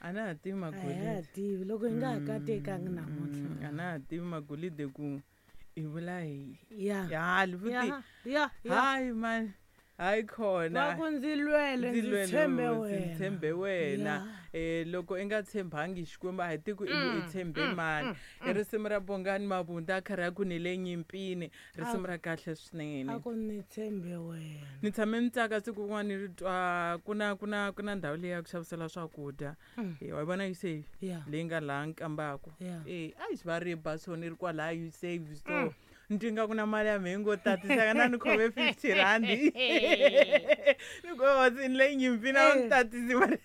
A na ha tivi A hi ha magolide. tivi loko hi nga ha katekangi namuntlha. A na ha tivi magolide ku i vula yini. Ya. Ya, futhi Ya, ya, ya. Hayi man, hayi khona. Va ku ndzi lwele, Ndzi ndzi lwele tshembe hosi, wena. tshembe wena. Ya. Loko i nga tshembangi Xikwembu a hi tiku i tshembe mani. I risimu ra Bongani Mabunda a karhi a ku ni le nyimpini, risimu ra kahle swinene. A ku ni tshembe wena. Ni tshame ni tsaka siku rin'wana ni ri twa ku na ndhawu leyi ya ku xavisela swakudya. Wa yi vona Usave? Ya. Leyi nga laha Nkambako. Ya. A yi va ri ba so ni ri kwalaya Usave so. Ni twi nga ku na mali ya mehe yi ngo tatisaka na ni khome 50 rand. Ni ku hosi ni le nyimpini a wu ni tatisi mali.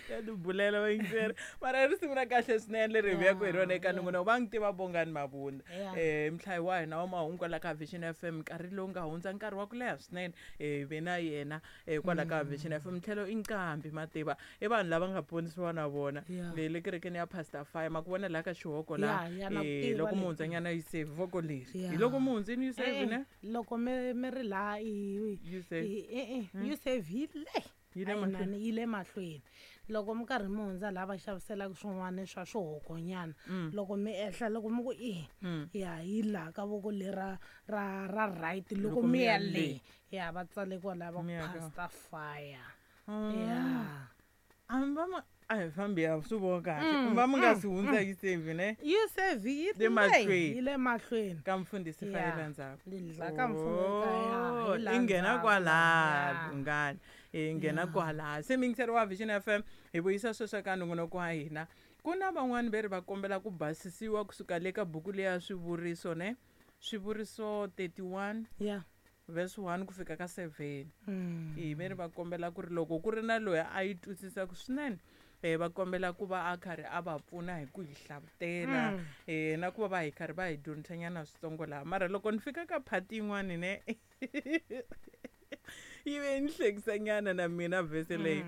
Ya tibulela vayingiseri. Mara i risimu ra kahle swinene leri hi vuyaka hi rona eka nongonoko. Va n'wi tiva Bongani Mabunda. Ya. Mhlayi wa hina wa mahungu kwala ka Vision FM nkarhi lowu nga hundza nkarhi wa ku leha swinene. Hi ve na yena kwala ka Vision FM. Tlhelo i nqambi mativa. I vanhu lava nga ponisiwa na vona. Ya. Le kerekeni ya Pastor Fire ma ku vona laha ka xihoko laha. Ya, ya, na ku tiva Loko le. mi hundzanyana Usave voko leri. Ya. Hi loko mi hundzini Usave Eh, ne? loko mi ri laha i Usave. Usave yi le. Yi le A yi mahlweni. nani, yi le mahlweni. Loko mi karhi mi hundza laha va xaviselaka swin'wana swa swihokonyana, loko mi ehla loko mi ku i, ya yi laha ka voko lera ra right loko Loko mi mi ya ya le. le. Ya va tsale kwalaya va ku Mi ya ka- Pastor Fire. Ya. A va ma a hi fambi ya swi vona kahle. Va mi nga si hundza Usave ne? Usave yi Le le mahlweni. yi le mahlweni. Ka mfundhisi Ya. Fire la ndzhaku. Le la ka mfundhisi Fire, Oh, hi la i nghena ndzhaku. kwalaya, Ya. Bungani. I nghena kwalaya. Se muyingiseri wa Vision FM hi vuyisa sweswo ka nongonoko wa hina. Ku na van'wani ve ri va kombela ku basisiwa kusuka le ka buku leya swivuriso ne? Swivuriso 31 Ya. verse 1 ku fika ka 7. Hi ve ri va kombela ku ri loko ku ri na loyi a yi twisisaka swinene, va kombela ku va a karhi a va pfuna hi ku hi hlavutela, na ku va va hi karhi va hi dyondzisanyana switsongo laha. Mara loko ni fika ka part yin'wani ne, yi ve ni hlekisanyana na mina verse leyi.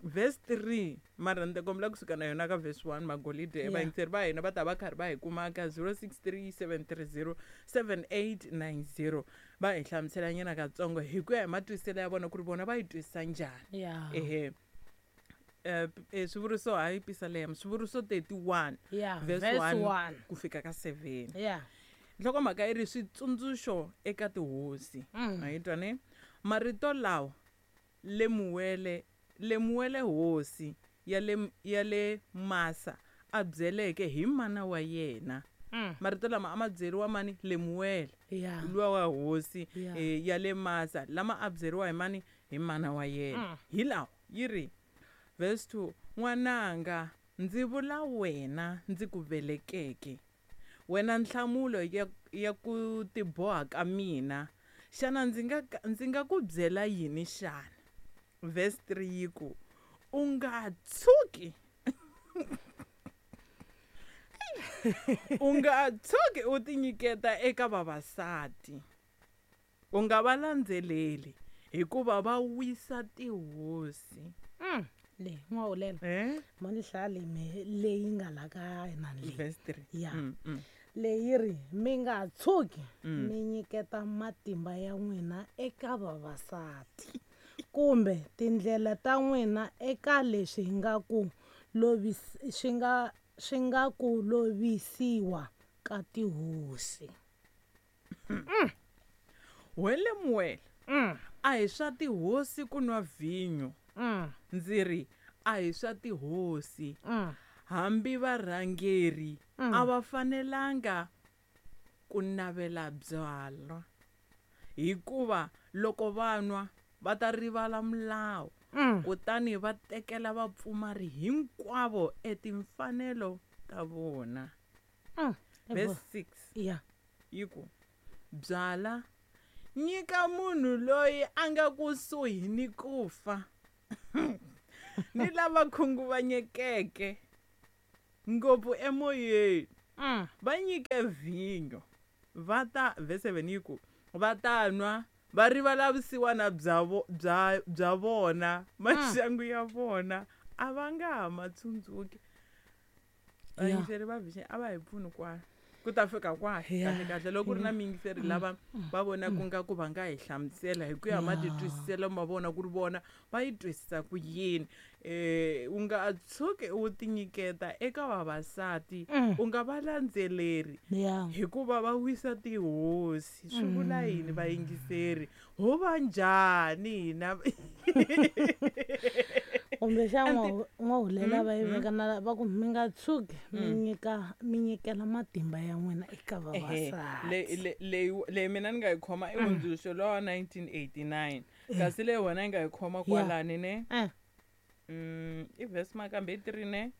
Verse 3, mara ni ta kombela kusuka na yona ka verse 1 magolide. Yeah. Vayingiseri va hina va ta va karhi va hi kuma ka zero six three seven three zero seven eight nine zero. Va hi hlamuselanyana katsongo hi ku ya hi matwisiselo ya vona ku ri vona va yi twisisa njhani. Yeah. Ehe. Swivuriso hayi Pisalema, swivuriso 31, Yeah, verse verse 1 1. ku fika ka 7. Yeah. Nhlokomhaka yi ri switsundzuxo eka tihosi. A yi twa ne? Marito lawa Lemuwele hosi ya le Masa a byeleke hi mana wa yena. Marito lama a ma byeriwa mani? Lemuwele. Yeah. Luwa wa hosi, Yeah. ya le Masa, lama a byeriwa hi mani? Hi mana wa yena. Hi lawa yi ri verse 2, n'wananga ndzi vula wena ndzi ku velekeke, wena nhlamulo ya ku tiboha ka mina, xana ndzi nga ku byela yini xana? Verse 3 yi ku u nga tshuki u nga tshuki u tinyiketa eka vavasati, u nga va landzeleli hikuva va wisa tihosi. Le, n'wahulela. Ma ni hlaya leyi me, leyi nga la ka hina leyi. Verse 3. Ya. Leyi ri mi nga tshuki mi nyiketa matimba ya n'wina eka vavasati kumbe tindlela ta n'wina eka leswi nga ku swi nga, swi nga ku lovisiwa ka tihosi. We Lemuwele, a hi swa tihosi ku nwa vhinyo. Ndzi ri a hi swa tihosi. Hambi varhangeri a va fanelanga ku navela byalwa, hikuva loko va nwa va ta rivala milawu, kutani va tekela vapfumari hinkwavo etimfanelo ta vona. Verse 6. Yeah. Yi ku byala nyika munhu loyi a nga kusuhi ni ku fa ni lava khunguvanyekeke ngopfu emoyeni, va nyike vhinyo, va ta, verse 7 yi ku va ta nwa va rivala vusiwana bya vona, maxangu ya vona a va nga ha ma tsundzuki. Yeah. Vayingiseri va Vision a va hi pfuni kwala. Ku ta fika kwahi Yeah. kahle kahle loko ku ri na miyingiseri lava va vonaka nga ku va nga hi hlamusela hi ku ya matitwisiselo ma vona ku ri vona va yi twisisa ku yini. U nga tshuki u tinyiketa eka vavasati, u nga va landzeleri hikuva va wisa tihosi. Swi vula yini vayingiseri? Ho va njhani hina? Kumbexana n'wahulela va yi veka na va ku mi nga tshuki mi nyika mi nyikela matimba ya n'wina eka vavasati. Leyi mina ni nga yi khoma i hundzuluxo lowa 1989, kasi leyi wena yi nga yi khoma kwalani ne? I verse makambe i 3 ne?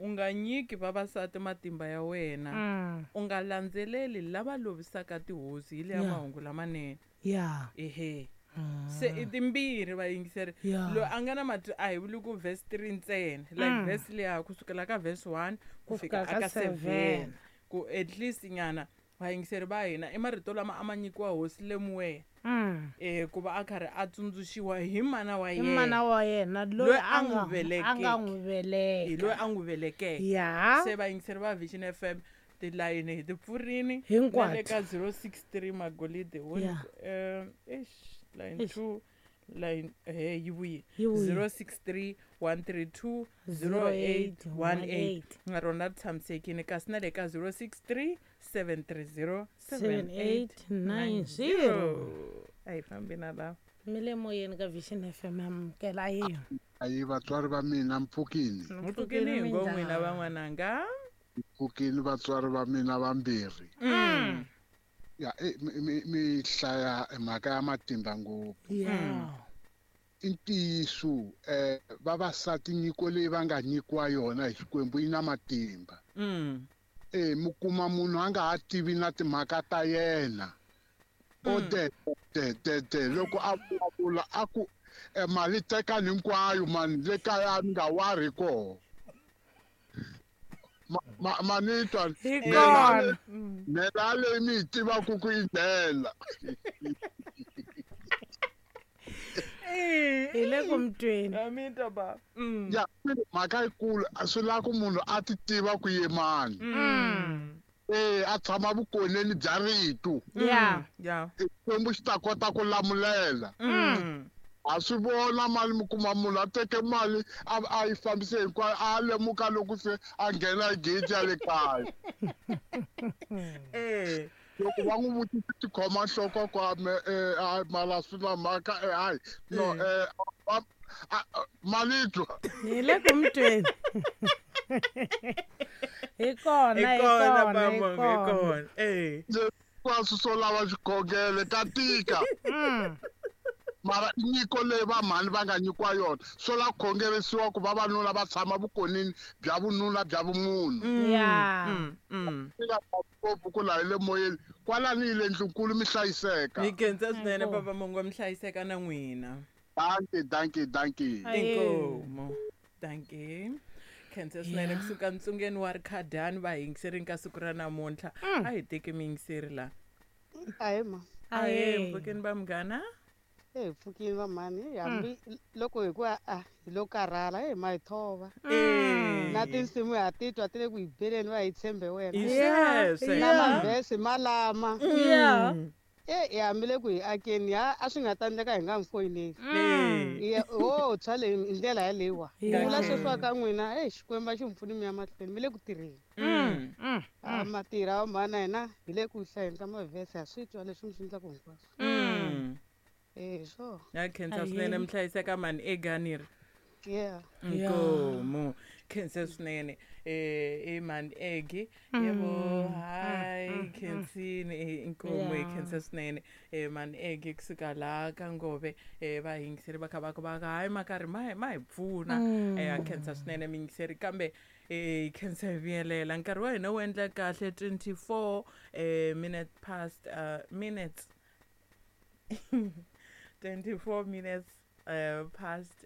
U nga nyiki vavasati matimba ya wena, u nga landzeleli lava lovisaka tihosi. Hi leya mahungu lamanene. Ehe. Se i timbirhi vayingiseri. Loyi a nga na mati a hi vuli ku verse 3 ntsena, like verse leya kusukela ka verse 1 ku fika ka aka 7. 7, ku at least nyana vayingiseri va hina i marito lama a ma nyikiwa hosi Lemuel, ku va a karhi a tsundzuxiwa hi mana wa Hi yena. mana wa yena loyi Loyi a a n'wi nga velekeke. a nga n'wi veleka. Hi loyi a n'wi velekeke. Se vayingiseri va Vision FM tilayini hi ti pfurini Hinkwato. na le ka 063 Magolide wo eish, line Eish. 2 line he yi vuye. Yi vuye. 063 132 0818 na rona ri tshamisekile, kasi na le ka 063 730 7890. A hi fambi na lava. Mi le moyeni ka Vision FM, amukela a yiyo. Ayi vatswari va mina, mpfukini. Mpfukini hi ngo n'wina van'wananga. Mpfukini vatswari va mina vambirhi. Ya, mi hlaya mhaka ya matimba ngopfu. I ntiyiso, vavasati nyiko leyi va nga nyikiwa yona hi Xikwembu yi na matimba. Mi kuma munhu a nga ha tivi na timhaka ta yena. O de, de, de, de, loko a vulavula a ku, mali tekani hinkwayo mani, le kaya ni nga wari koho. Ma ni twa? Hi kona. Ndlela leyi mi yi tivaka ku yi ndlela. Hi le ku mi tweni. A mi twa ba? Ya, mhaka yikulu swi lava ku munhu a ti tiva ku ye mani. A tshama vukoneni bya rito. Xikwembu xi ta kota ku lamulela. A swi vona mali, mi kuma munhu a teke mali a yi fambise hinkwayo, a lemuka loko se a nghena hi gate ya le kaya. Loko va n'wi vutisa tikhoma nhloko kwa me, a mara swi na mhaka, hayi, no, mali twa. Hi le ku mi tweni. Hi kona, Hi hi kona, kona, hi Bambo, hi kona. kona. Hinkwaswo swo lava xikhongelo ka tika. Mara i nyiko leyi va mhani va nga nyikiwa yona, swo lava ku khongerisiwa ku vavanuna va tshama vukonini bya vununa bya vumunhu. Swi nga ngopfu ku laha hi le moyeni, kwalani hi le ndlunkulu mi hlayiseka. Mi khensa swinene, Inkomu. Papa Mongo, mi hlayiseka na n'wina. Dankie, dankie, dankie. Aye. Inkomu. Dankie. Khensa swinene kusuka ntsungeni wa Rikhadani va yingiserini ka siku ra namuntlha. A hi teki miyingiseri la. Ahe ma. Ahe, Ahe. mpfukeni va munghana. Hi pfukini va mhani, hambi loko hi ku a hi lo karhala, hi ma hi thova. Na tinsimu ha titwa ti le ku hi beleni, va hi tshembe wena. Hi sweswe. Na mavhesi malama. Hi hambi le ku hi akeni, ha a swi nga ta endleka hi nga mi foyineli. Ya, ho tshwa leyi hi ndlela yaleyiwa. Vula sweswiwa ka n'wina, Xikwembu a xi mi pfuni mi ya mahlweni, mi le ku tirheni. A matirha wa mhana hina hi le ku hlayeni ka mavhesi, ha swi twa leswi mi swi endlaka hinkwaswo. Sure. Ya khensa swinene, mi hlayiseka mani eganiri. Nkomu. Khensa swinene. I mani egi. Yebo, hayi khensini, inkomu hi khensa swinene. Mani egi kusuka laha ka Ngove, va yingiseri va kha va ku va hayi ma karhi ma hi pfuna. A khensa swinene miyingiseri, kambe khensa hi vuyelela. Nkarhi wa hina wu endla kahle 24 minute past, minutes. 24 minutes past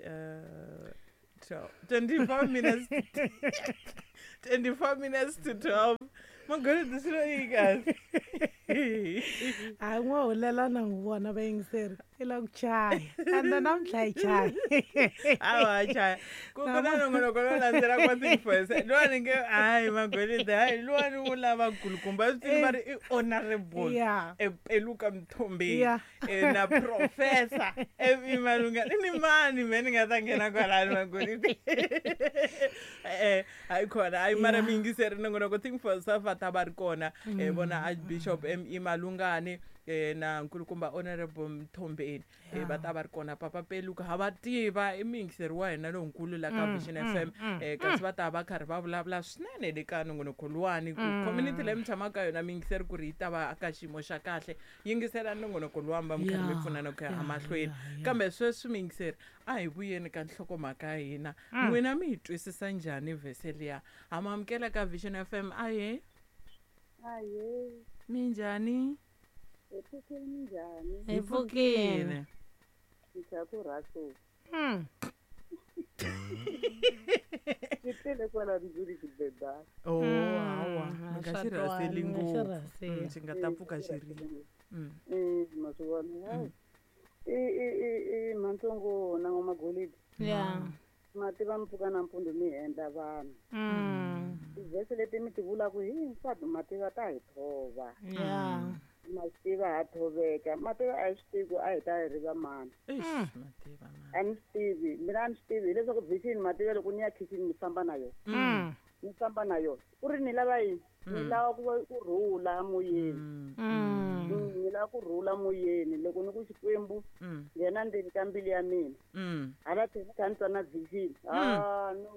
12. 24 minutes. 24 minutes to 12. Magolide, swi lo yi kahle. Hayi, n'wa hulela na n'wi vona vayingiseri i la ku chaya ende namuntlha yi chaya. Awa, chaya ku na nongonoko lowu landzelaka wa Think for Yourself luwani nge hayi magolide hayi luwani wu lava kulukumba swi tivi va ri i honorable epeluka Mthombeni na professor emalunga ni mani me ni nga ta nghena kwalani magolide hayi khona hayi mara miyingiseri nongonoko Think for Yourself va ta va ri kona vona Archbishop M.E. Malungane na nkulukumba honorable Mthombeni va ta va ri kona. Papa Peluka ha va tiva i muyingiseri wa hina lonkulu la ka Vision FM kasi va ta va karhi va vulavula swinene le ka nongonoko luwani ku community leyi mi tshamaka ka yona miyingiseri ku ri yi ta va ka xiyimo xa kahle. Yingisela nongonoko luwani va mi karhi mi pfunana ku ya emahlweni. Kambe sweswi miyingiseri a hi vuyeni ka nhlokomhaka ya hina. N'wina mi yi twisisa njhani vhese liya? Ha mi amukela ka Vision FM. Ahe. Ahe. Minjhani? Hi pfukile, minjhani? Hi pfukile. Ndza ku rhasela. Xi tele kwala ndlwini xibedana. Oh, hawa, mi nga swa xi rhaseli twala, mi nga xi ngopfu. Rhaseli. Xi nga ta pfuka xi ri. Ma swi vona. Hayi. I mantsongo na n'wamagolidi. Ma tiva mi pfuka nampundzu mi endla vanhu. Tivhese leti mi ti vulaka hinkwato ma tiva ta hi thova. Ma swi tiva ha thoveka. Ma tiva a hi swi tivi ku a hi ta hi ri va mani. Eish, ma tiva mani. A ni swi tivi, mina a ni swi tivi hileswaku vision ma tiva loko ni ya kitchen ni famba na yona. Ni famba na yona. Ku ri ni lava yini? Ni lava ku va ku rhula moyeni. Ni lava ku rhula moyeni loko ni ku Xikwembu nghena ndzeni ka mbilu ya mina. Hala tlhelo ni kha ni twa na vision. Ah, no,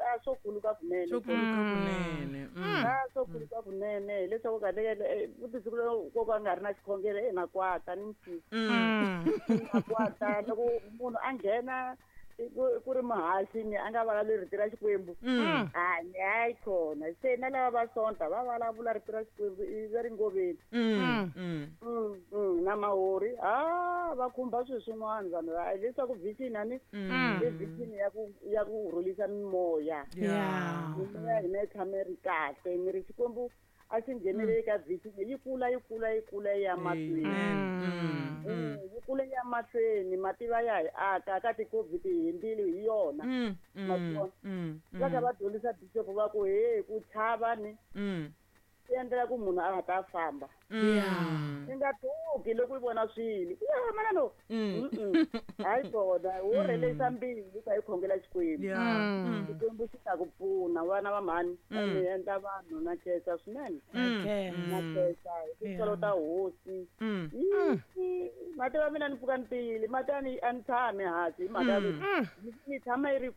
a swo khuluka kunene. Swo khuluka kunene. A swo khuluka kunene hileswaku kahle kahle futhi siku lero ko ka nga ri na xikhongelo na kwata ni mfisi. Na kwata loko munhu a nghena ku ri muhaxi ni a nga vulavuli rito ra Xikwembu. A ni hayi khona se na lava va sonta va vulavula rito ra Xikwembu i va ri ngoveni. Na mahori va khumba swilo swin'wana vanhu va leswaku vision a ni i vision ya ku rhulisa mimoya. Mimoya hina yi tshame yi ri kahle ni ri Xikwembu a xi ngheneleli ka vision yi kula yi kula yi kula yi ya mahlweni. Yi kula yi ya mahlweni mativa ya hi aka ka ti-COVID hi hundzile hi yona. Ma swi vona? Va kha va dyondzisa bishop va ku he ku chava ni swi endlela ku munhu a nga ta famba. I nga tshuki loko i vona swilo. Ya mana no. Hayi kona wo rhelisa mbilu ka yi khongela Xikwembu. Xikwembu xi ta ku pfuna vana va mhani. Mi endla vanhu na khensa swinene. Na khensa hi tintswalo ta hosi. Mativa mina ni pfuka ni tiyile mati a ni tshami hansi hi mhaka ya ku ni tshama yi ri